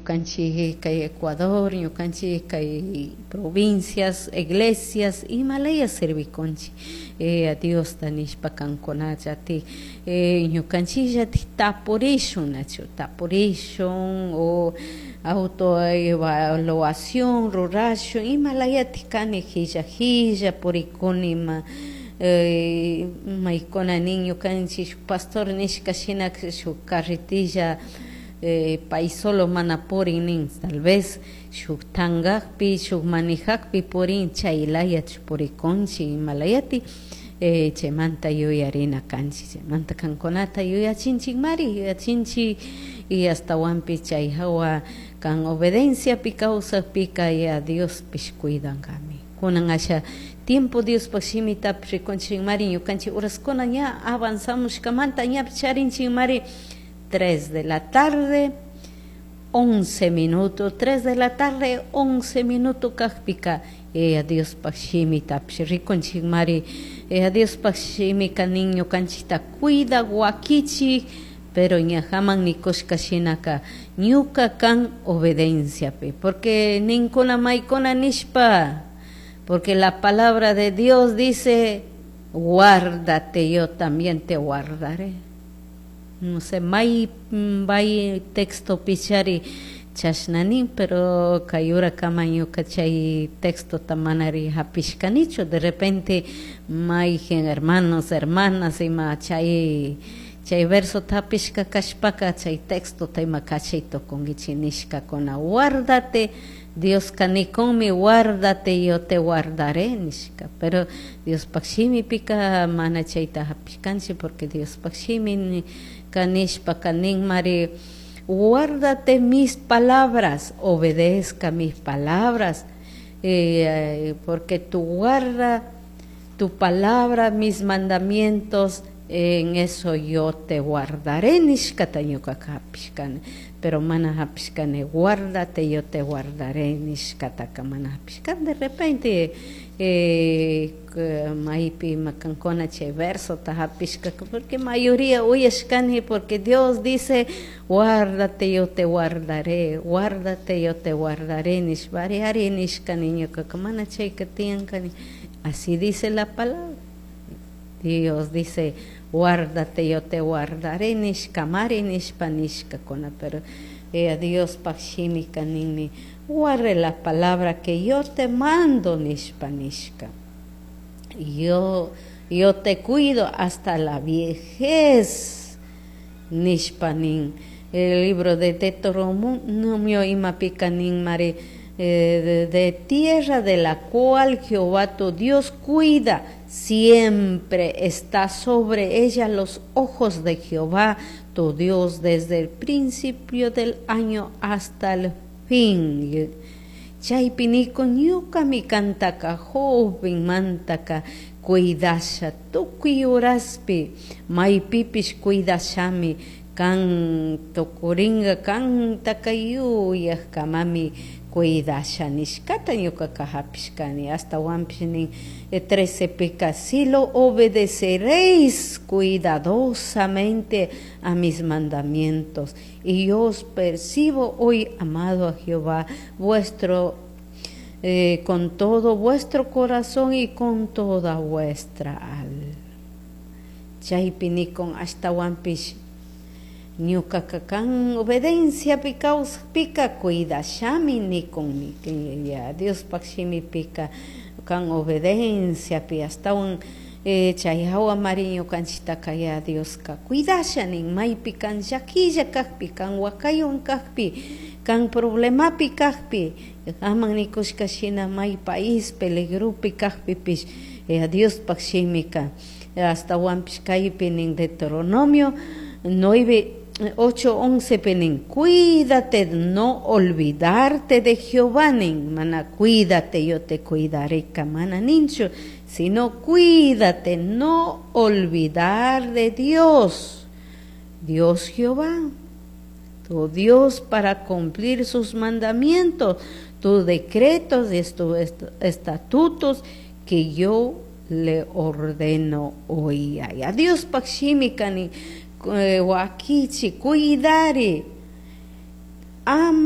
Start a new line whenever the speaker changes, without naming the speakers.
Ñukanchik kay Ecuador, ñukanchik kay provincias, iglesias imalaya servikunchik Diosta nishpa kankunallatik ñukanchikllatik tapurishun, nachu tapurishun o autoevaluación rurashun imalayatik kani qilla qilla purikuni ima maykuna nin ñukanchik pastor nishka shina shuk carretilla pay solo mana purin nin, tal vez shuk tankakpi shuk manijakpi purin, chaylayachu purikunchik imalayatik chaymanta yuyarina kanchik, chaymanta kankunata yuyachinchikmari, yuyachinchik y ashtawanpish chay hawa kan obedienciapi kawsakpika ya Diospish cuidankami. Kunan asha tiempo Diospaj shimitapish rikunchikmari ñukanchik horaskuna ña avanzamushkamanta ñapish charinchikmari 3 de la tarde 11 minutos, 3 de la tarde 11 minutos kakpika Diospaj shimitapish rikunchikmari, Diospaj shimika nin ñukanchikta cuida wakichik, pero ñajaman nikushka shinaka ñuka kan obedienciapi, porque ninkuna maykuna nishpa, porque la palabra de Dios dice, guárdate, yo también te guardaré. No sé, may bay texto pichari chashnanin, pero kay urakaman ñuka chay texto manari hapishkanichu, de repente mayjin hermanos, hermanas ima chay chay verso hapishka kashpaka chay texto ima kachay tukunkichik nishkakuna, guárdate, Dioska nikunmi guárdate, yo te guardaré nishka, pero Diospaj shimipika mana chayta hapishkanchik, porque Diospaj shimi nishpaka ninmari, guárdate mis palabras, obedezca mis palabras, porque tu guarda tu palabra, mis mandamientos, en eso yo te guardaré, nishkata ñukaka hapishkani, pero mana hapishkani, guárdate, yo te guardaré, nishkataka mana hapishkani. De repente maypi makankuna chay versota hapishkaka, porque mayoría uyashkani, porque Dios dice, guárdate, yo te guardaré, guárdate, yo te guardaré, nishpari ari nishkani ñukaka mana chayka tiyankani. Así dice la palabra. Dios dice, guárdate, yo te guardaré, nishkamari nishpa nishkakuna, pero Diospaj shimika ninmi, guarde la palabra que yo te mando, nishpa nishka. Yo te cuido hasta la viejez, nishpa nin. El libro de Deuteronomio imapika nin mari, de tierra de la cual Jehová tu Dios cuida, siempre está sobre ella los ojos de Jehová tu Dios desde el principio del año hasta el fin. Chaypi nikun ñukami kantaka joven mantaka cuidasha tukuy horaspi maypipish cuidashami kan tukuringa kantaka yuyajkamami cuidasha nishkata ñukaka hapishkani. Ashtawanpish nin 13 pika, si lo obedeceréis cuidadosamente a mis mandamientos, y yo os percibo hoy, amado a Jehová vuestro, con todo vuestro corazón y con toda vuestra alma. Chaypi nikun ashtawanpish ñukaka kan obedienciapi kawsakpika cuidashami nikunmi. Ya Diospaj shimipika kan obedienciapi ashtawan chay hawa mari ñukanchiktaka ya Dioska cuidasha nin, maypi kan llakilla kakpi, kan wakaywan kakpi, kan problemapi kakpi, aman nikushka shina may país peligropi kakpipish Diospaj shimika ashtawanpish kaypi nin Deuteronomio 9, 8, 11 nin, cuídate no olvidarte de Jehová nin, mana cuídate, yo te cuidaré, mana ninchu, sino cuídate no olvidar de Dios, Dios Jehová, tu Dios, para cumplir sus mandamientos, tus decretos y tus estatutos que yo le ordeno hoy. A Dios paj shimika nin, wakichi, cuidare. Am